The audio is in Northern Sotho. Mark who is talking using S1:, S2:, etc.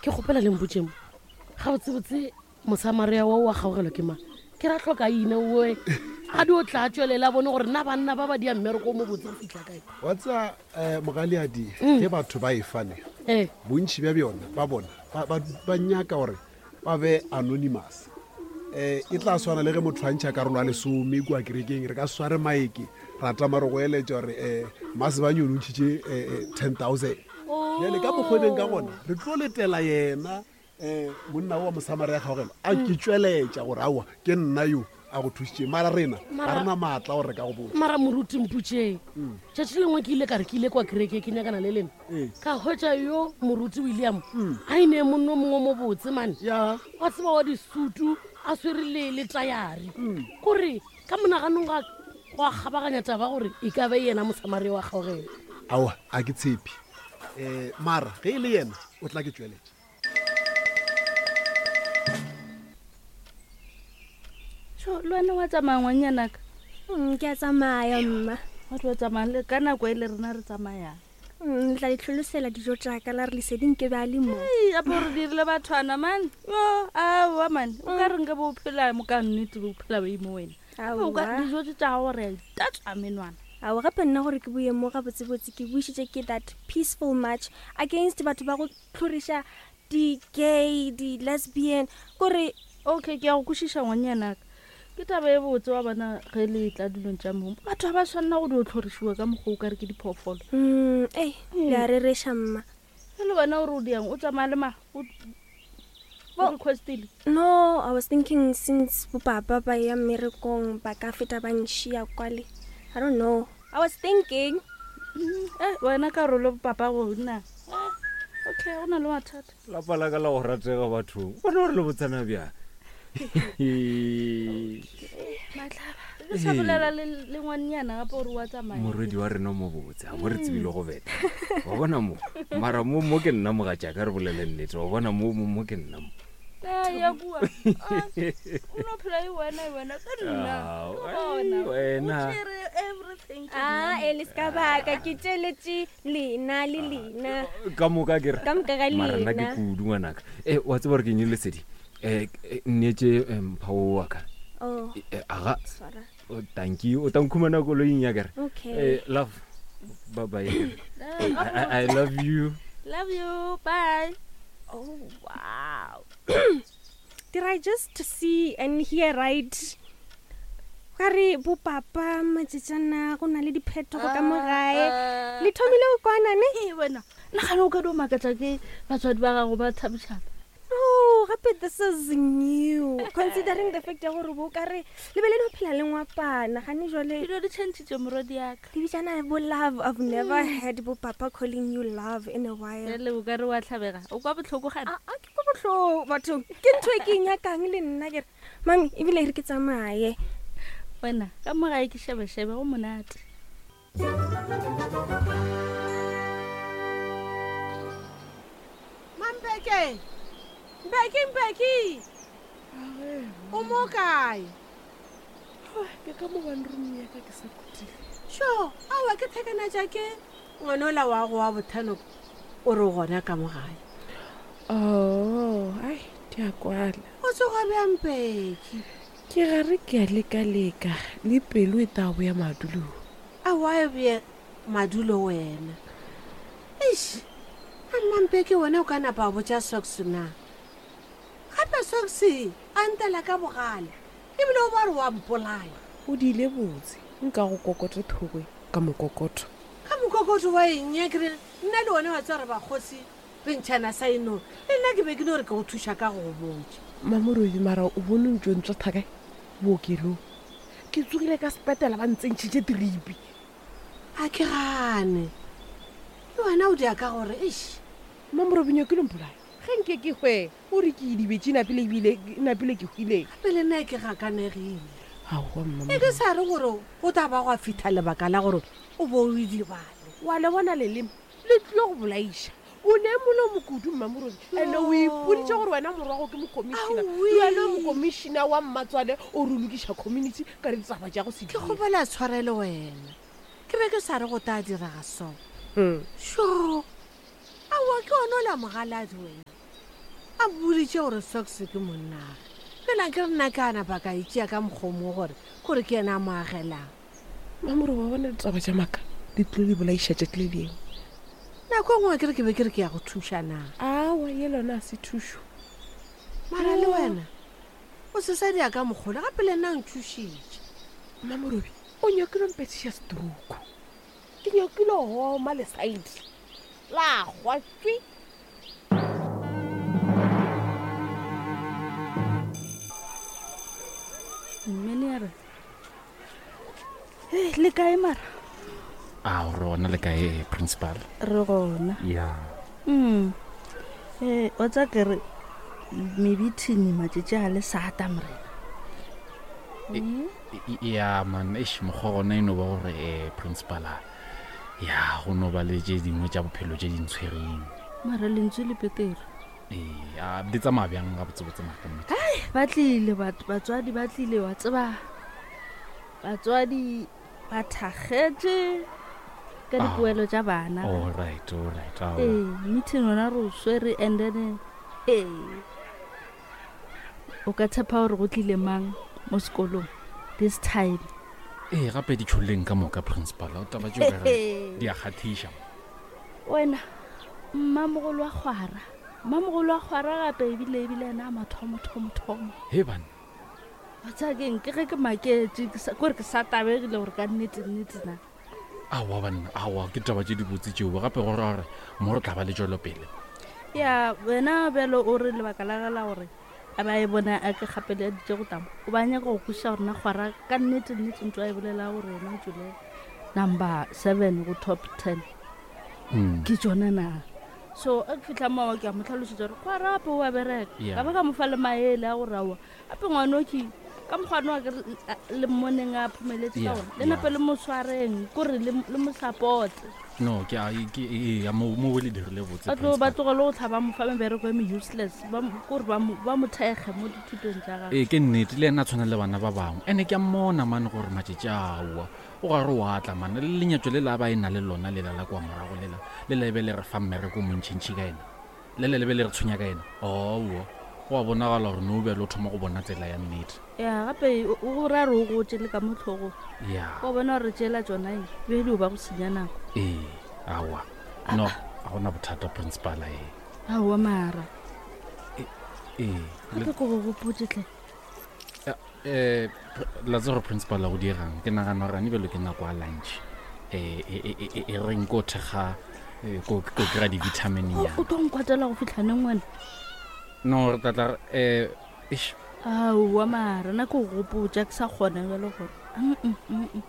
S1: Ke kgopela le mpotseng gabotsebotse Mosamaria wa o wa kgaogelo ke mang? Ke ra hloka ina oe a di o tla tšwelela bone gore na banna ba ba dia mmereko o mo botse go fitlha kae.
S2: Wa tseba um mogaleadi mm. ge batho ba e fane eh. bontšhi bja bjona ba bona ba nyaka gore ba be anonymous um e tla swana le ge motho a ntšha karolo ya lesome kua kerekeng re ka sware maeke ra tama re go eletša gore um eh, masebanye o ntšhitše 10000 bjale ka mokgwebeng ka gona re tlo letela yena um monna wa mosamaria kgaogelo a ke tšweletša gore aowa ke nna yo a go thusitšeng mara rena ga re na maatla gore re ka go botsa
S1: mara moruti mputšeng mm. tšatši lengwe ke ile ka re ke ile kwa kereke ke nyakana le lena ee. ka hwetša yo moruti william mm. a ine monno mongwe mo botse mane wa tseba wa disutu a swere le le tayari mm. kore ka monaganong ga go a kgabaganya taba gore e ka be yena mosamaria wa kgaogelo
S2: aowa a ke tshepe um mara ge e le yena o tla ke tšweletša
S3: so le wena wa tsamaya ngwannyanaka
S4: mm, ke a tsamaya mma
S3: wa tlo tsamaya le ka nako e le rena re tsamayang
S4: mm, le tla ditlholosela dijo tsaka la re leseding ke be a le mo
S3: apo re dirile bathwana mane yo aowa mane o ka mm. reng ke bo phela mo ka nnete bo phela ba imo wena dijo tse tsa gago re a itatswa menwana
S4: ao gape nna gore ke boye mo gabotsebotse ke bušitše ke that peaceful march against batho ba go tlhoriša di-gay di-lesbian kore
S3: okay ke ya go kwešiša ngwanyanaka ke taba e botse wa bona ge le tla dilong tša mong batho ga ba tshwanela go dio tlhorišiwa ka mokgwa o ka re ke diphoofolo
S4: mm, ei le a rereša mma
S3: e le wena o re o diang o tsamaya le ma o requestile
S4: no i was thinking since bopapa ba ya mmerekong ba ka feta ba nšia kwale i don't know I was thinking.
S3: Mm, eh, wena karolo papa go nna. Eh, okay, go na le mathata.
S5: Lapa la ka la go ratega bathong. Bona gore le botsana bjang.
S3: Matlaba. Re sa bolela le le ngwannyana gape gore wa tsamaya.
S5: Morwedi wa rena mo botse, a bo re tsebile go beta. Wa bona mo. Mara mo mo ke nna mogatšaka re bolele nnete. Wa bona mo mo mo ke nna mo.
S3: Eh, ya kua. Ah, O no phela e wena e wena ka nna.
S5: Ah,
S3: Ke bona.
S5: wena.
S3: O tšere everything. ke
S4: a
S3: nna.
S4: e le se ka baka ke tšeletše lena le lena
S5: ka moka ke re
S4: Ka moka ga
S5: mara nna ke
S4: lena.
S5: kudu ngwanaka e wa tseba gore ke eng lesedi um nneetse mpha o wa ka
S4: oh
S5: Eh, aga
S4: swara
S5: o tanki o tankhumana koloing ya kere
S4: okay
S5: Eh, love bye bye
S3: Eh,
S5: I, I, I love you
S3: Love you. Bye.
S4: oh wow did i just see and hear right ka re bopapa matšetšana go na le diphetogo ka mo gae
S3: Ah.
S4: le thomile go kwana ne
S3: Ee, wena nagane o ka dio makatša ke batswadi ba gago ba thabišana
S4: no gape this is new considering the fact ya gore bo ka re le be le no phela le ngwapana gane jale
S3: dilo di changitše morwadi yaka
S4: le bitsana bo love i've never had bo papa calling you love in a while
S3: jale o ka re wa tlhabega o kwa botlhoko gane
S4: a ke kwa botlhoko bathong ke ntho e ke e nyakang le nna kere mami ebile e re ke tsamaye
S3: wena ka mo gae ke shebeshebe go monate
S6: Mampeke! Mpeki, Mpeki! O mo kae?
S7: Ke ka mo one room ya ka ke sa khutile.
S6: Sho, aowa ke thekana tša ke ngwana ola wa go wa bothano o re o gona ka mo gae.
S7: Oh, ai, di a kwala.
S6: O tsoga bjang Mpeki?
S7: Ke gare ke a leka-leka le pelo e tla boya madulong.
S6: Aowa e beye madulo wena. Eish, a mmampeke wena o ka napa wa botša Socks na? Gape Socks a ntela ka bogale ebile o ba re wa mpolaya.
S7: O diile botse, nka go kokote thogwe ka mokokoto.
S6: Ka mokokoto wa eng ya kere nna le wena wa tseba re bakgosi re ntšhana sa eno le nna ke be ke no re ke go thuša ka go go botša.
S7: Mamorodi mara o bone ntšo ntswa thakae bookelong. Ke tsogile ka sepetela ba ntsentšhitše tripi.
S6: A ke gane. Le wena o dia ka gore eish.
S7: Mamorobi nyakile mpolaya. Ge nke ke hwe o re ke idibetše napile ebile napile ke hwile.
S6: Gape le nna ke gakanegile.
S7: Aowa mma.
S6: E ke sa re gore go tla ba gwa fitha lebaka la gore o bo o idibale.
S7: Wa le bona leleme le tlile go bolaiša. O ne molomo kudu Mmamorobi ene o ipoditše gore wena morwago ke mokomišina le wena o mokomišina wa mmatswale o re lokiša community ka ditaba tša go se
S6: Ke kgopela tshwarelo wena. Ke be ke sa re go tla direga so.
S7: Hmm.
S6: Sho! Aowa ke ona ola mogaladi wena. A boditše gore Socks ke monnage. Fela ke re nna ke a napa ka itšea ka mokgomo gore kore ke yena a mo agelang.
S7: Mamoro wa bona ditaba tša maaka di tlilo di bolaiša tšatši le lengwe.
S6: Nako e nngwe ke re ke be ke re ke ya go thuša na.
S7: Awa ye lona a se thušo.
S6: Mara le wena o se sa dia ka mokgole gape le nna o nthušitše.
S7: Mamorobi o nyakile mpethiša stroke. Ke nyakile go oma lesaidi la gwa tswi.
S3: Mmene ya re Hey, le kae mara
S8: a re gona le kae principal
S3: re gona
S8: ya
S3: Ee, wa tsa ke re mebithini matšatši a le sata morena
S8: ya man eish mokgwa gona e no ba gore um principal a ya go no ba le tše dingwe tša bophelo tše di ntshwereng
S3: mara lentswe le petere
S8: ee a di tsamaya bjang gabotsebotse mara nnete
S3: ba tlile batswadi ba tlile wa tseba batswadi ba thakgetše ka dipoelo tša bana
S8: all right all right aowa.
S3: Ee meeting yona re o swere and then ee o ka tshepa gore go tlile mang mo sekolong this time
S8: ee gape di tšhololeng ka moka principal o taba tšeo ka re di a kgathiša
S3: wena mmamogolo wa kgwara mmamogolo wa kgwara gape ebile ebile ena a mathomo thomo thomo
S8: he banna
S3: wa tsaya keng ke ge ke maketše ke sa- kore ke sa tabegile gore ka nnete nnete na
S8: aowa banna aowa ke taba tše dibotse tšeo gape go ra gore mo re tla ba le tšwelopele
S3: ya wena bjalo o re lebaka la ge la gore a ba e bona a ke gapeleditše go tamo o ba nyaka go kwešiša gore na kgwara ka nnete nnete ntho a e bolela gore yena o tswile number 7 go top 10 ke tsona na so a ke fitlha moo ke a mo tlhalosetsa gore kgwara gape o a bereka
S8: Yeah.
S3: ka ba ka mo fa le maele a gore aowa gape ngwana o ke ka mokgwane wa ke le mmoneng a phomeletse ka
S8: Yeah,
S3: ona le
S8: yeah.
S3: nape le mo tshwareng kore le le mo supporte
S8: no ke a ke ee mo mo le dirile botse
S3: ba tlo ba
S8: principal.
S3: tlogele go tlhaba mo fa mebereko e me useless ba mo- kore ba mo ba mo thekge mo dithutong tša gagwe
S8: ee ke nnete le ena a tshwana le bana ba bangwe ene ke a mmona mane gore matšatši aowa o gare o atla mane le lenyatso le la ba e na le lona lela la kwa morago lela le la ebe le re fa mmereko o montšhintšhi ka ena le le lebe le re tshwenya ka ena owo go a bonagala gore no bjale o thoma go bona tsela ya nnete
S3: ya gape o o ra re o gotse le ka mo tlhogong
S8: ya
S3: wa bona gore tšela tsona e be di o ba go senya nako
S8: ee aowa no ga gona bothata principala ee
S3: aowa mara
S8: ee
S3: gape ko go gopotse tle
S8: um la tse gore principal a go diegang ke nagana gore ane bjalo ke nako ya lunch um e reng ko thekga eh, ko ko kry-a di-vitamin
S3: O-
S8: ya
S3: o tlo nkwatela go fitlha neng wena
S8: no re tlatla um
S3: aowa mara nna ke go gopotsa ke sa kgona jalo gore Mm, mm, mm, mm.